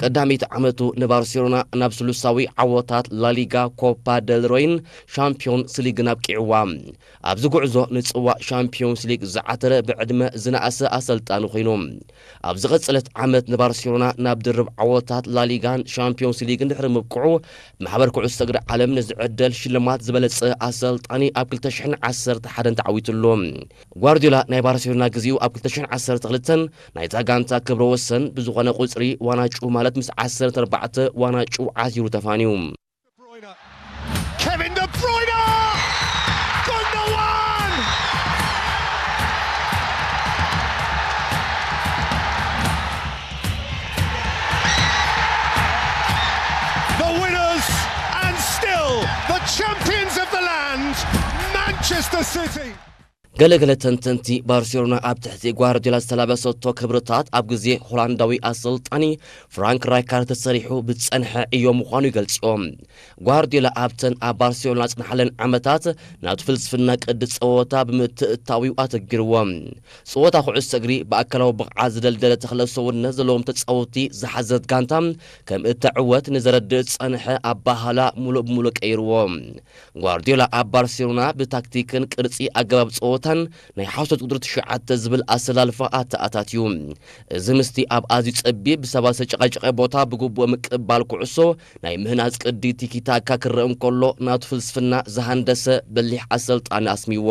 ቀዳመይቲ ዓመቱ ንባርሴሎና ናብ ስሉሳዊ ዓወታት ላሊጋ፣ ኮፓ ደል ሬይን ሻምፒዮንስ ሊግን ኣብቂዕዋ። ኣብዚ ጉዕዞ ንጽዋእ ሻምፒዮንስ ሊግ ዝዓተረ ብዕድመ ዝነኣሰ ኣሰልጣኒ ኮይኑ፣ ኣብ ዝቐጸለት ዓመት ንባርሴሎና ናብ ድርብ ዓወታት ላሊጋን ሻምፒዮንስ ሊግን ድሕሪ ምብቅዑ፣ ብማሕበር ኩዕሶ እግሪ ዓለም ንዝዕደል ሽልማት ዝበለጸ ኣሰልጣኒ ኣብ ክልተ ሽሕን ዓሰርተ ሓደን ተዓዊቱሉ። ጓርዲዮላ ናይ ባርሴሎና ግዜኡ ኣብ ክልተ ሽሕን ዓሰርተ ክልተን ናይታ ጋንታ ክብረ ወሰን ብዝኾነ ቁጽሪ ዋናጩ ማለት ምስ ዓሰርተ ኣርባዕተ ዋናጩ ዓሲሩ ተፋንዩ። Kevin De Bruyne! Gundogan! The winners and still the champions of the land, Manchester City. ገለገለ ተንተንቲ፣ ባርሴሎና ኣብ ትሕቲ ጓርዲዮላ ዝተላበሰቶ ክብርታት ኣብ ግዜ ሆላንዳዊ ኣሰልጣኒ ፍራንክ ራይካርድ ተሰሪሑ ብዝጸንሐ ዕዮ ምዃኑ ይገልጽኦ። ጓርዲዮላ ኣብተን ኣብ ባርሴሎና ዝጸንሓለን ዓመታት ናቱ ፍልስፍና ቅዲ ጸወታ ብምትእትታዊኡ ኣተግብርዎ። ጸወታ ኩዕሶ እግሪ ብኣካላዊ ብቕዓት ዝደልደለ ተኽለ ሰውነት ዘለዎም ተጻወትቲ ዝሓዘት ጋንታ ከም እተዕወት ንዘረድእ ዝጸንሐ ኣባህላ ሙሉእ ብሙሉእ ቀይርዎ። ጓርዲዮላ ኣብ ባርሴሎና ብታክቲክን ቅርጺ ኣገባብ ጸወታን ናይ ሓሶት ቁጽሪ ትሽዓተ ዝብል ኣሰላልፋ ኣተኣታትዩ። እዚ ምስቲ ኣብ ኣዝዩ ጸቢብ ብሰባት ዝተጨቃጨቀ ቦታ ብግቡእ ምቅባል ኩዕሶ ናይ ምህናጽ ቅዲ ቲኪታካ ክረአ እንከሎ ናቱ ፍልስፍና ዝሃንደሰ በሊሕ ኣሰልጣኒ ኣስሚዎ።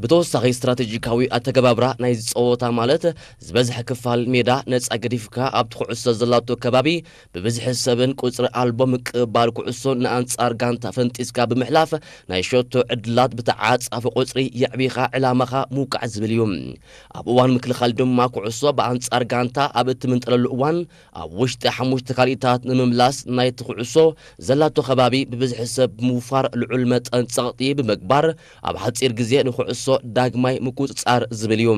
ብተወሳኺ ስትራቴጂካዊ ኣተገባብራ ናይዚ ጸወታ ማለት ዝበዝሐ ክፋል ሜዳ ነጻ ገዲፍካ ኣብቲ ኩዕሶ ዘላቶ ከባቢ ብብዝሒ ሰብን ቁጽሪ ኣልቦ ምቅባል ኩዕሶን ንኣንጻር ጋንታ ፈንጢስካ ብምሕላፍ ናይ ሸቶ ዕድላት ብተዓጻፊ ቁጽሪ የዕቢኻ ዕላማኻ ምውቃዕ ዝብል እዩ። ኣብ እዋን ምክልኻል ድማ ኩዕሶ ብኣንጻር ጋንታ ኣብ እትምንጥለሉ እዋን ኣብ ውሽጢ ሓሙሽተ ካልኢታት ንምምላስ ናይቲ ኩዕሶ ዘላቶ ከባቢ ብብዝሒ ሰብ ብምውፋር ልዑል መጠን ጸቕጢ ብምግባር ኣብ ሓጺር ግዜ ንኩዕሶ ዳግማይ ምቁጽጻር ዝብል እዩ።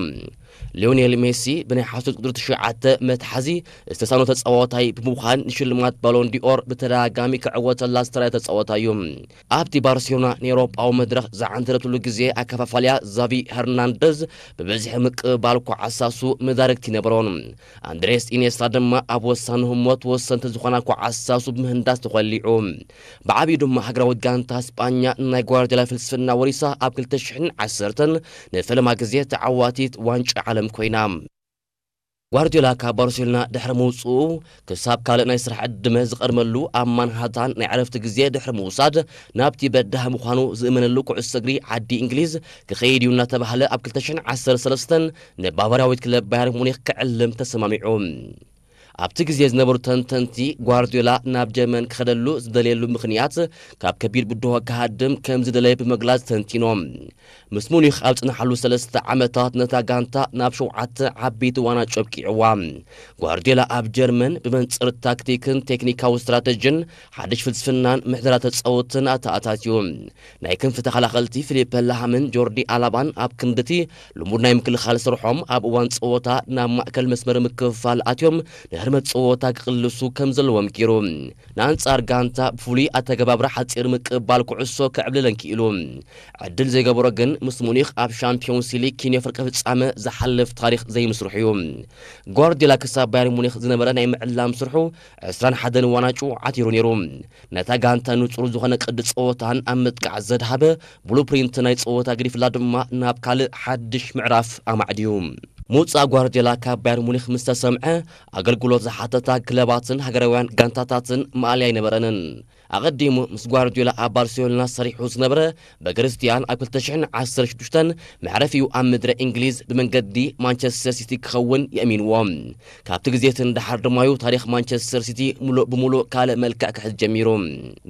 ሊዮኔል ሜሲ ብናይ ሓሶት ቁጽሪ ትሽዓተ መትሓዚ ዝተሳኖ ተጻዋታይ ብምዃን ንሽልማት ባሎን ዲኦር ብተደጋጋሚ ክዕወተላ ዝተራእየ ተጻዋታይ እዩ። ኣብቲ ባርሴሎና ንኤውሮጳዊ መድረኽ ዝዓንተረትሉ ግዜ ኣከፋፋልያ ዛቪ ሄርናንደዝ ብብዝሒ ምቅባል ኳዓሳሱ መዳርግቲ ይነበሮን። ኣንድሬስ ኢኔስታ ድማ ኣብ ወሳኒ ህሞት ወሰንቲ ዝኾና ኳዓሳሱ ብምህንዳስ ተኾሊዑ። ብዓብዩ ድማ ሃገራዊት ጋንታ ስጳኛ ናይ ጓርዲዮላ ፍልስፍና ወሪሳ ኣብ ክልተ ሽሕን ዓሰርተን ንፈለማ ግዜ ተዓዋቲት ዋንጫ ዓለም ኮይና። ጓርዲዮላ ካብ ባርሴሎና ድሕሪ ምውፅኡ ክሳብ ካልእ ናይ ስራሕ ዕድመ ዝቐድመሉ ኣብ ማንሃታን ናይ ዕረፍቲ ግዜ ድሕሪ ምውሳድ ናብቲ በዳህ ምዃኑ ዝእመነሉ ኩዕሶ እግሪ ዓዲ እንግሊዝ ክኸይድ እዩ እናተባህለ ኣብ ክልተ ሽሕን ዓሰርተ ሰለስተን ንባቫርያዊት ክለብ ባየር ሙኒክ ክዕልም ተሰማሚዑ። ኣብቲ ግዜ ዝነበሩ ተንተንቲ ጓርዲዮላ ናብ ጀርመን ክኸደሉ ዝደለየሉ ምኽንያት ካብ ከቢድ ብድሆ ክሃድም ከም ዝደለየ ብምግላጽ ተንቲኖም። ምስ ሙኒክ ኣብ ጽንሓሉ ሰለስተ ዓመታት ነታ ጋንታ ናብ ሸውዓተ ዓበይቲ ዋናጩ ኣብቂዕዋ። ጓርዲዮላ ኣብ ጀርመን ብመንጽር ታክቲክን ቴክኒካዊ ስትራተጂን ሓድሽ ፍልስፍናን ምሕደራ ተጻወትን ኣተኣታትዩ። ናይ ክንፊ ተኸላኸልቲ ፊሊፐ ላሃምን ጆርዲ ኣላባን ኣብ ክንድቲ ልሙድ ናይ ምክልኻል ስርሖም ኣብ እዋን ጸወታ ናብ ማእከል መስመር ምክፍፋል ኣትዮም ንህርመት ጸወታ ክቕልሱ ከም ዘለዎም ገይሩ። ንኣንጻር ጋንታ ብፍሉይ ኣተገባብራ ሓጺር ምቅባል ኩዕሶ ክዕብልለን ክኢሉ። ዕድል ዘይገበሮ ግን ምስ ሙኒኽ ኣብ ሻምፒዮንስ ሊግ ኪንዮ ፍርቂ ፍጻመ ዝሓልፍ ታሪኽ ዘይምስርሑ እዩ። ጓርዲዮላ ክሳብ ባየር ሙኒኽ ዝነበረ ናይ ምዕላም ስርሑ ዕስራን ሓደን ዋናጩ ዓቲሩ ነይሩ። ነታ ጋንታ ንጹር ዝኾነ ቅዲ ጸወታን ኣብ ምጥቃዕ ዘድሃበ ብሉፕሪንት ናይ ጸወታ ገዲፍላ ድማ ናብ ካልእ ሓድሽ ምዕራፍ ኣማዕድዩ። ምውጻእ ጓርዲዮላ ካብ ባየር ሙኒኽ ምስ ተሰምዐ ኣገልግሎት ዝሓተታ ክለባትን ሃገራውያን ጋንታታትን ማእለያ ኣይነበረንን። ኣቐዲሙ ምስ ጓርዲዮላ ኣብ ባርሴሎና ሰሪሑ ዝነበረ በክርስትያን ኣብ ክልተ ሽሕን ዓሰርተ ሽዱሽተን መዕረፊኡ ኣብ ምድረ እንግሊዝ ብመንገዲ ማንቸስተር ሲቲ ክኸውን የእሚንዎ። ካብቲ ግዜቲ ንደሓር ድማዩ ታሪኽ ማንቸስተር ሲቲ ሙሉእ ብሙሉእ ካልእ መልክዕ ክሕዝ ጀሚሩ።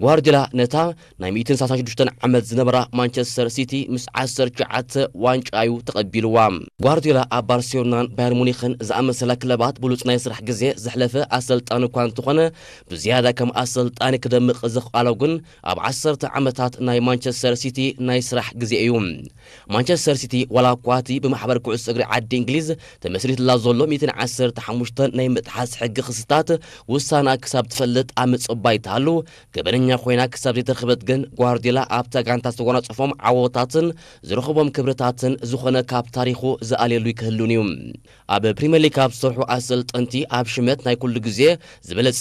ጓርዲዮላ ነታ ናይ ሚእትን ሰላሳን ሽዱሽተን ዓመት ዝነበራ ማንቸስተር ሲቲ ምስ ዓሰርተ ትሽዓተ ዋንጫ እዩ ተቐቢልዋ። ጓርዲዮላ ኣብ ባርሴሎናን ባየር ሙኒኽን ዝኣመሰላ ክለባት ብሉጽ ናይ ስራሕ ግዜ ዘሕለፈ ኣሰልጣኒ እኳ እንተኾነ ብዝያዳ ከም ኣሰልጣኒ ክደምቕ ዘኽኣሎ ግን ኣብ ዓሰርተ ዓመታት ናይ ማንቸስተር ሲቲ ናይ ስራሕ ግዜ እዩ። ማንቸስተር ሲቲ ዋላ እኳ እቲ ብማሕበር ኩዕሶ እግሪ ዓዲ እንግሊዝ ተመስሪትላ ዘሎ ሚእትን ዓሰርተ ሓሙሽተን ናይ ምጥሓስ ሕጊ ክስታት ውሳና ክሳብ ትፈልጥ ኣብ ምጽባይ ተሃሉ ገበነኛ ኮይና ክሳብ ዘይተረኽበት ግን ጓርዲዮላ ኣብታ ጋንታ ዝተጎናጸፎም ዓወታትን ዝረኽቦም ክብርታትን ዝኾነ ካብ ታሪኹ ዝኣልየሉ ይክህሉን እዩ። ኣብ ፕሪምየር ሊግ ካብ ዝሰርሑ ኣሰልጠንቲ ኣብ ሽመት ናይ ኩሉ ግዜ ዝበለጸ